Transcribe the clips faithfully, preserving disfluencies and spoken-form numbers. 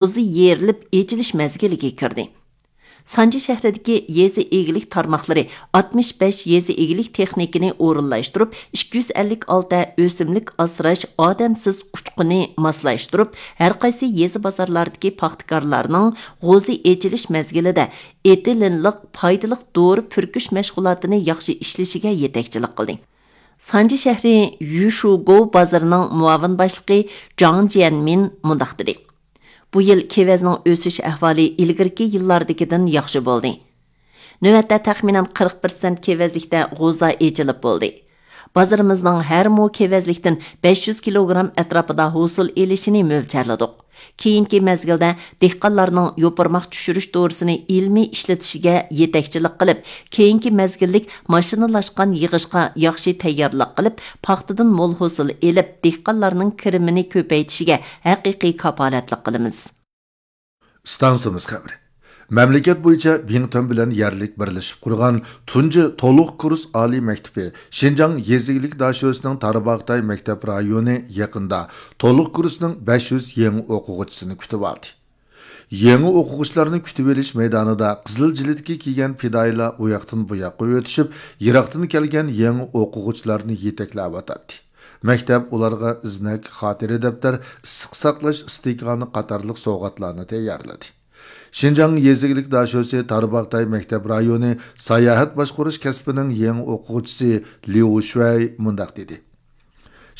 غوزا يېرىلىپ ئېچىلىش مەزگىلىگە كىردى. سانجى شەھىرىدىكى يېزا ئىگىلىك تارماقلىرى ئاتمىش بەش يېزا ئىگىلىك تېخنىكىنى ئورۇنلاشتۇرۇپ، ئىككى يۈز ئەللىك ئالتە ئۆسۈملۈك ئاسراش ئادەمسىز ئۇچقۇنى ماسلاشتۇرۇپ، ھەرقايسى يېزا بازارلاردىكى پاختىكارلارنىڭ غوزا ئېچىلىش مەزگىلىدە ئېتىلېنلىق پايدىلىق دورا پۈركۈش مەشغۇلاتىنى ياخشى ئىشلىشىگە يېتەكچىلىك قىلدى. سانجى شەھىرى يۈشۇگوۋ بازىرىنىڭ مۇئاۋىن باشلىقى جاڭ جيەنمىن مۇنداق دېدى: بۇ يىل كېۋەزنىڭ ئۆسۈش ئەھۋالى ئىلگىرىكى يىللاردىكىدىن ياخشى بولدى. نۆۋەتتە تەخمىنەن قىرىق پىرسەنت كېۋەزلىكتە غوزا ئېچىلىپ بولدى. بازىرىمىزنىڭ ھەر مو كېۋەزلىكتىن بەش يۈز كىلوگرام ئەتراپىدا ھوسۇل ئېلىشىنى مۆلچەرلىدۇق. كېيىنكى مەزگىلدە دېھقانلارنىڭ يوپۇرماق چۈشۈرۈش دورىسىنى ئىلمىي ئىشلىتىشىگە يېتەكچىلىك قىلىپ، كېيىنكى مەزگىللىك ماشىنىلاشقان يىغىشقا ياخشى تەييارلىق قىلىپ، پاختىدىن مول ھوسۇل ئېلىپ، دېھقانلارنىڭ كىرىمىنى كۆپەيتىشىگە ھەقىقىي كاپالەتلىك قىلىمىز. ئىستانسىمىز خەۋىرى. مەملىكەت بويىچە بىڭتۈەن بىلەن يەرلىك بىرلىشىپ قۇرغان تۇنجى تولۇق كۇرس ئالىي مەكتىپى شىنجاڭ يېزا ئىگىلىك داشۆسىنىڭ تارباغاتاي مەكتەپ رايونى يېقىندا تولۇق كۇرسنىڭ بەش يۈز يېڭى ئوقۇغۇچىسىنى كۈتۈۋالدى. يېڭى ئوقۇغۇچىلارنى كۈتۈۋېلىش مەيدانىدا قىزىل جىلىتكە كىيگەن پىدائىيلار ئۇ ياقتىن بۇ ياققا ئۆتۈشۈپ، يىراقتىن كەلگەن يېڭى ئوقۇغۇچىلارنى يېتەكلەۋاتاتتى. مەكتەپ ئۇلارغا ئىزنەك، خاتىرە دەپتەر، ئىسسىق ساقلاش ئىستىكانى قاتارلىق سوۋغاتلارنى تەييارلىدى. شىنجاڭ يېزا ئىگىلىك داشۆسى تارباغاتاي مەكتەپ رايونى ساياھەت باشقۇرۇش كەسپىنىڭ يېڭى ئوقۇغۇچىسى ليۇ شۈەي مۇنداق دېدى: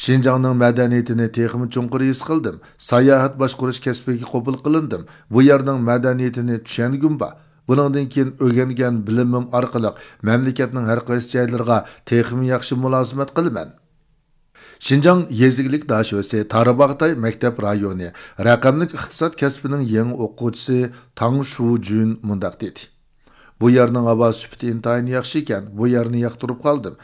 شىنجاڭنىڭ مەدەنىيىتىنى تېخىمۇ چوڭقۇر ھېس قىلدىم. ساياھەت باشقۇرۇش كەسپىگە قوبۇل قىلىندىم. بۇ يەرنىڭ مەدەنىيىتىنى چۈشەنگۈم بار. بۇنىڭدىن كېيىن ئۆگەنگەن بىلىمىم ئارقىلىق مەملىكەتنىڭ ھەر قايسى جايلىرىغا تېخىمۇ ياخشى مۇلازىمەت قىلىمەن. شىنجاڭ يېزا ئىگىلىك داشۆسى تارباغاتاي مەكتەپ رايونى رەقەملىك ئىقتىساد كەسپىنىڭ يېڭى ئوقۇغۇچىسى تاڭ شۇجۈن مۇنداق دېدى: بۇ يەرنىڭ ھاۋا سۈپىتى ئىنتايىن ياخشى ئىكەن، بۇ يەرنى ياقتۇرۇپ قالدىم.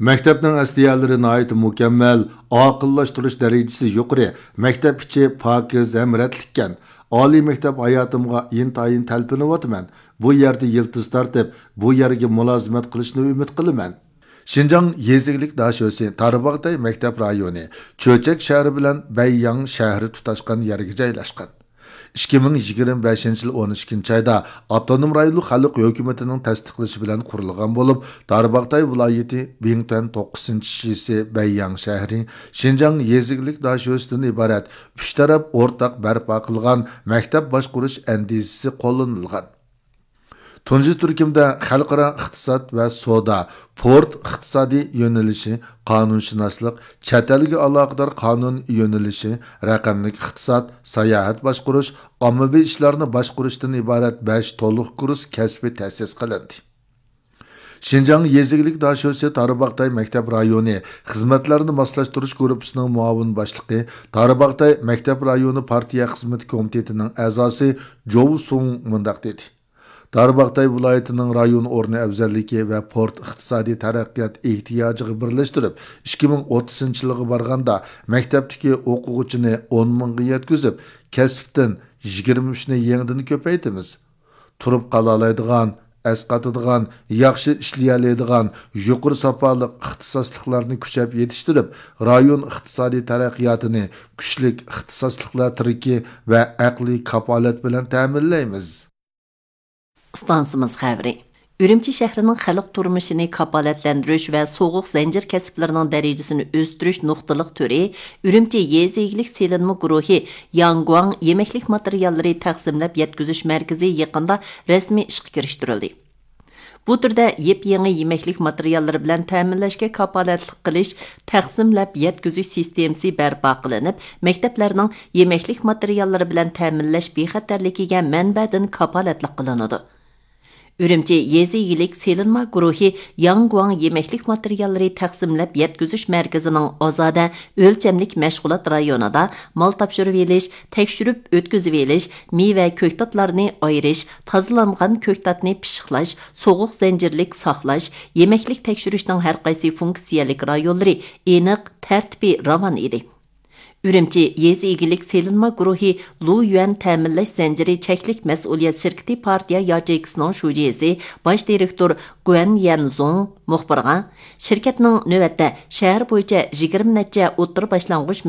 مەكتەپنىڭ ئەسلىھەلىرى ناھايىتى مۇكەممەل، ئاقىللاشتۇرۇش دەرىجىسى يۇقىرى، مەكتەپ ئىچى پاكىز ھەم رەتلىككەن. ئالىي مەكتەپ ھاياتىمغا ئىنتايىن تەلپۈنۈۋاتىمەن. بۇ يەردە يىلتىز تارتىپ، بۇ يەرگە مۇلازىمەت قىلىشنى ئۈمىد قىلىمەن. شىنجاڭ يېزا ئىگىلىك داشۆسى تارباغاتاي مەكتەپ رايونى چۆچەك شەھىرى بىلەن بەيياڭ شەھىرى تۇتاشقان يەرگە جايلاشقان. ئىككى مىڭ يىگىرمە بەشىنچى يىل ئون ئىككىنچى ئايدا ئاپتونوم رايونلۇق خەلق ھۆكۈمىتىنىڭ تەستىقلىشى بىلەن قۇرۇلغان بولۇپ، تارباغاتاي ۋىلايىتى بىڭتۈەن توققۇزىنچى شىسى بەيياڭ شەھىرى شىنجاڭ يېزا ئىگىلىك داشۆسىدىن ئىبارەت ئۈچ تەرەپ ئورتاق بەرپا قىلغان مەكتەپ باشقۇرۇش ئەندىزىسى قوللىنىلغان. تۇنجى تۈركۈمدە خەلقئارا ئىقتىساد ۋە سودا، پورت ئىقتىسادىي يۆنىلىشى، قانۇنشۇناسلىق، چەت ئەلگە ئالاقىدار قانۇن يۆنىلىشى، رەقەملىك ئىقتىساد، ساياھەت باشقۇرۇش، ئاممىۋى ئىشلارنى باشقۇرۇشتىن ئىبارەت بەش تولۇق كۇرس كەسپى تەسىس قىلىندى. شىنجاڭ يېزا ئىگىلىك داشۆسى تارباغاتاي مەكتەپ رايونى خىزمەتلەرنى ماسلاشتۇرۇش گۇرۇپپىسىنىڭ مۇئاۋىن باشلىقى، تارباغاتاي مەكتەپ رايونى پارتىيە خىزمىتى كومىتېتىنىڭ ئەزاسى جوۋ سۇڭ مۇنداق دېدى: دارباغاتاي ۋىلايىتىنىڭ رايون ئورنى ئەۋزەللىكى ۋە پورت ئىقتىسادىي تەرەققىيات ئېھتىياجىغا بىرلەشتۈرۈپ، ئىككى مىڭ ئوتتۇزىنچى يىلغا بارغاندا، مەكتەپتىكى ئوقۇغۇچىنى ئون مىڭغا يەتكۈزۈپ، كەسىپتىن يىگىرمە ئۈچنى يېڭىدىن كۆپەيتىمىز. تۇرۇپ قالالايدىغان، ئەسقاتىدىغان، ياخشى ئىشلىيەلەيدىغان، يۇقىرى ساپالىق ئىختىساسلىقلارنى كۈچەپ يېتىشتۈرۈپ، رايون ئىقتىسادىي تەرەققىياتىنى كۈچلۈك ئىختىساسلىقلار تىرىكى ۋە ئەقلىي كاپالەت بىلەن تەمىنلەيمىز. ئىستانسىمىز خەۋىرى. ئۈرۈمچى شەھىرىنىڭ خەلق تۇرمۇشىنى كاپالەتلەندۈرۈش ۋە سوغۇق زەنجىر كەسىپلىرىنىڭ دەرىجىسىنى ئۆستۈرۈش نۇقتىلىق تۈرى ئۈرۈمچى يېزا ئىگىلىك سېلىنما گۇرۇھى ياڭگۇاڭ يېمەكلىك ماتېرىياللىرى تەقسىملەپ يەتكۈزۈش مەركىزى يېقىندا رەسمىي ئىشقا كىرىشتۈرۈلدى. بۇ تۈردە يېپيېڭى يېمەكلىك ماتېرىياللىرى بىلەن تەمىنلەشكە كاپالەتلىك قىلىش، تەقسىملەپ يەتكۈزۈش سىستېمىسى بەرپا قىلىنىپ، مەكتەپلەرنىڭ يېمەكلىك ماتېرىياللىرى بىلەن تەمىنلەش بىخەتەرلىكىگە مەنبەدىن كاپالەتلىك قىلىنىدۇ. ئۈرۈمچى يېزا ئىگىلىك سېلىنما گۇرۇھى ياڭگۇاڭ يېمەكلىك ماتېرىياللىرى تەقسىملەپ يەتكۈزۈش مەركىزىنىڭ ئازادە ئۆلچەملىك مەشغۇلات رايونىدا مال تاپشۇرۇۋېلىش، تەكشۈرۈپ ئۆتكۈزۈۋېلىش، مېۋە، كۆكتاتلارنى ئايرىش، تازىلانغان كۆكتاتنى پىششىقلاش، سوغۇق زەنجىرلىك ساقلاش، يېمەكلىك تەكشۈرۈشنىڭ ھەرقايسى فۇنكسىيەلىك رايونلىرى ئېنىق، تەرتىپى راۋان ئىدى. ئۈرۈمچى يېزا ئىگىلىك سېلىنما گۇرۇھى لۇيۈەن تەمىنلەش زەنجىرى چەكلىك مەسئۇلىيەت شىركىتى پارتىيە ياچېيكىسىنىڭ شۇجىسى، باش دىرېكتور گۇەن يەنزۇڭ مۇخبىرغا، شىركەتنىڭ نۆۋەتتە شەھەر بويىچە يىگىرمە نەچچە ئوتتۇرا باشلانغۇچ